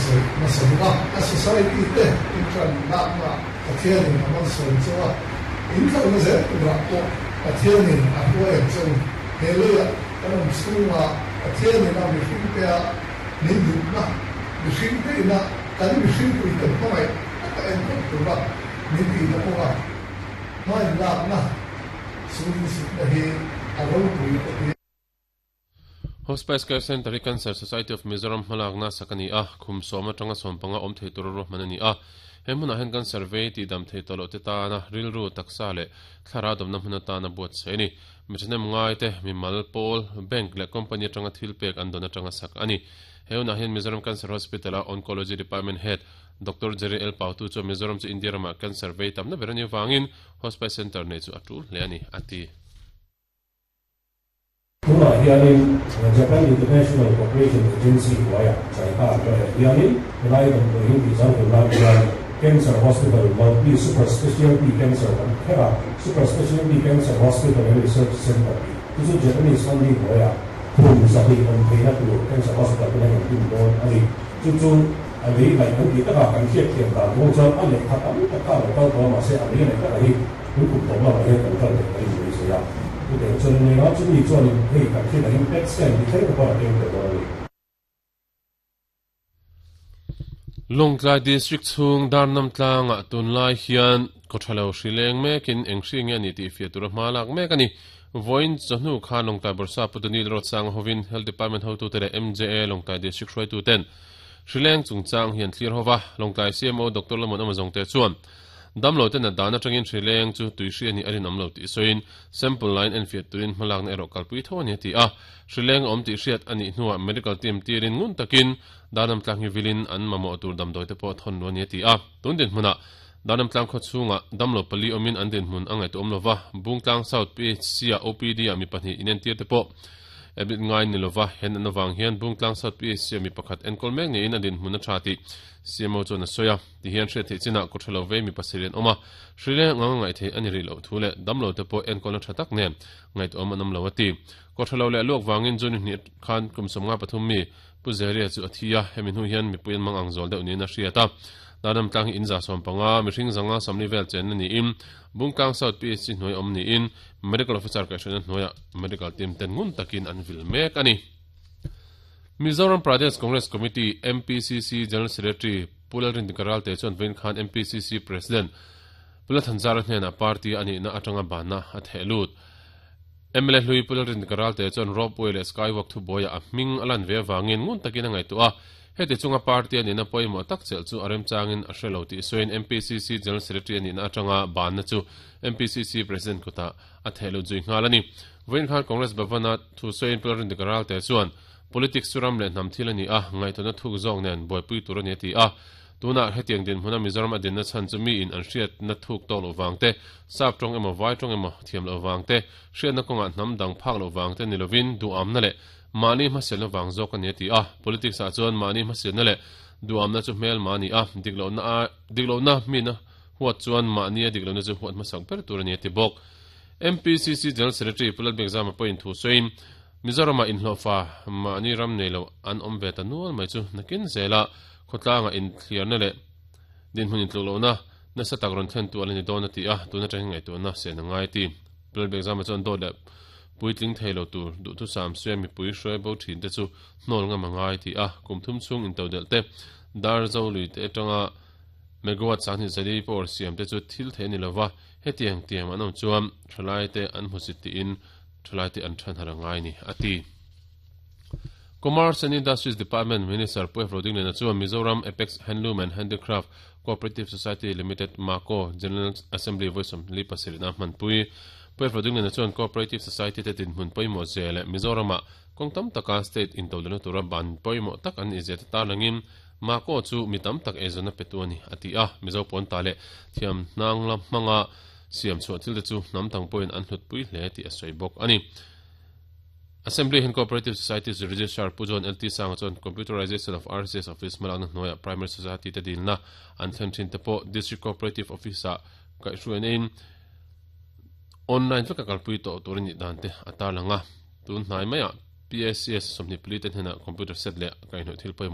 sawi hmasa bawk a. A society te inṭan lakna Pathianin a malsawm chauh a, in kalna zel turah pawh Pathianin a hruai ang che u. He leiah kan awm chhunga Pathianin a mihringtea min duhna, mihringte ina kan mihringpuite hmangaih taka enkawl tura min tihna kawnga hmain lakna sulinsutna hi a ropui ka ti. Hospice Care Centre hi Cancer Society of Mizoram hmalakna sak a ni a, khum sawm atanga sawmpanga awm thei tura ruahman a ni a. He hmunah hian cancer vei tihdam thei tawh loh te tana rilru, taksa leh thlarau damna hmun atana buatsaih a ni. Mi thahnem ngaite, mimal, pawl, bank leh company atanga thil pek an dawn atanga sak a ni. He hunah hian Mizoram Cancer Hospital-a Oncology Department Head, Doctor Jerry L. Pautu chuan Mizoram chu India ramah cancer vei tamna ber a nih avangin Hospice Centre neih chu a tul hle a ni, a ti. Tunah hianin Japan International Cooperation Agency hnuaiah JICA an rawih hianin helai damdawi hi tih zau nan hian Cancer Hospital Multi Super Specialty Cancer kan kher a, Super Specialty Cancer Hospital and Research Center tih chu chu Japanese funding hnuaiah khum 200 awm theihna tur Cancer Hospital te hian kan din dawn a ni. Chu chu a lei laih kan tih takah kan hriatthiam dan kawng chuan a lehkha tam tak kha a lo kal tawh a, mahse a lei laih takah hi Tun kum tawp lamah hian kan kal leh mai mai zui a, chutiang chuan in eng a, chumi chuanin hei kan hriat angin pet scan hi thleng takah a keng tel dawn a ni. Lawngtlai District chhung Darnam tlangah tunlai hian kawthalo hri leng mekin eng hri nge a nih tih fiah tura hma lak mek a ni. Vawiin chawhnu khan Lawngtlai Bawrhsa Pu Dunil Roadsanga hovin Health Department hotute leh MJA Lawngtlai District hruaituten hri leng chungchang hi an thlir hova, Lawngtlai CMO Doctor Lamon Amazongte chuan Damlo te nat dan atangin hri leng chu tui hri a nih a rinawm lo tih sawiin sample lain enfiah turin hmalakna erawh kalpui tho a ni a ti a. Hri leng a awm tih hriat a nih hnuah medical team tirin ngun takin Darnam tlang hi vilin an mamawh tur damdawi te pawh thawn lu a ni a ti a. Tun dinhmunah Darnam tlang khaw chhungah damlo pali awmin an dinhmun a ngaihtuahawm lova, Bungtlang South PHC-ah OPD-ah mi pahnih inentir te pawh admit ngai ni lova, he natna vang hian Bungtlang South PHC-ah mi pakhat enkawl mek niin a dinhmun a tha tih CMO chuan a sawi a. Ti hian hriat theih chinah kawtha lo vei mi pasarih an awm a, hri leng anga ngaih theih a ni rih loh thu leh damlo te pawh enkawlna tha tak nen ngaihtuahawm an awm lo a ti. Kawtha lo leh luak vangin June hnih khan kum 53 mi Pu Zeria chu a thi a, hemi hnu hian mipui an mang ang zual deuh niin a hriat a. Darnam tlang hi in 150, mihring zanga 40 vel chenna niin Bungtlang South PHC hnuai awm niin Medical Officer kaihhruaina hnuaiah Medical team ten ngun takin an vil mek a ni. Mizoram Pradesh Congress Committee, MPCC, General Secretary Pu Lalrindika Ralte chuan vawiin khan MPCC President Pu Lalthanzara hnenah party a nihna atanga banna a theh lut. Mla hlui Pu Lalrindika Ralte chuan Ropeway leh Skywalk thubuaiah a hming a lan ve avangin ngun takin a ngaihtuah a, heti chunga party a nihna pawimawh tak chelh chu a remchangin a hre lo tih sawiin MPCC General Secretary a nihna atanga banna chu MPCC President kutah a theh lut zui nghal a ni. Vawiin khan Congress Bhavan-a thu sawiin Pu Lalrindika Ralte chuan Politics chu ram leh hnam thil a ni a, ngaihtuahna thuk zawk nen buaipui tur a ni a ti a. Tunah hetiang dinhmuna Mizoram a dinna chhan chu miin an hriatna thuk tawk loh vang te, sap tawng emaw vai tawng emaw thiam loh vang te, hriatna kawngah hnam dang phak loh vang te ni lovin duhamna leh mahni hmasialna vang zawk a ni a ti a. Politics ah chuan mahni hmasialna leh duhamna chu hmelma a ni a, diklohna a diklohna mina huat chuan mahnia diklohna chu huat hmasak ber tur a ni a ti bawk. MPCC General Secretary Pu Lalbiakzama pawhin thu sawiin, Mizoramah inhlawhfa mahni ram nei lo an awm ve ta nual mai chu nakin zela khawtlangah inthliarna leh dinhmun intluklohna nasa tak rawn thlentu a la ni dawn a ti a, tun atangin ngaihtuahna sen a ngai a ti. Lalbiakzama chuan dawt leh puitling thei lo tur duhthusam suia mipui hruai bo thin te chu hnawl ngam a ngai a ti a, kum thum chhung intodelh te, dar zo lui te atanga megawatt 20 zali power siam te chu thil theih a ni lova, hetiang tiam an awm chuan thalaite an hmusit tiin Thalaite an than har a ngai ni, a ti. Commerce and Industries Department Minister Pu F. Rodingliana chuan Mizoram Apex Handloom and Handicraft Cooperative Society Limited, MACO, General Assembly vawi 47 na hmanpui. Pu F. Rodingliana chuan Cooperative Society te dinhmun pawimawh zia leh Mizoramah kawng tam taka state intodelhna tura ban pawimawh tak an nih zia te tarlangin MACO chu mi tam tak eizawnna petu a ni, a ti a. Mizo pawnta leh thiam hnang la hmanga Siam chhuah thil te chu hnam dang pawhin an hlutpui hle tih a sawi bawk a ni. Assembly hian Cooperative Societies Registrar Pu John LT Sanga chuan Computerization of RCS Office hmalakna hnuaiah Primary Society te dilna an thlen thin te pawh District Cooperative Office-ah kaihhruaina in online veka kalpui tawh tur a nih dan te a tarlang a. Tun hnai maiah PACS 24 te hnenah computer set leh kaihhnawih thil pawimawh.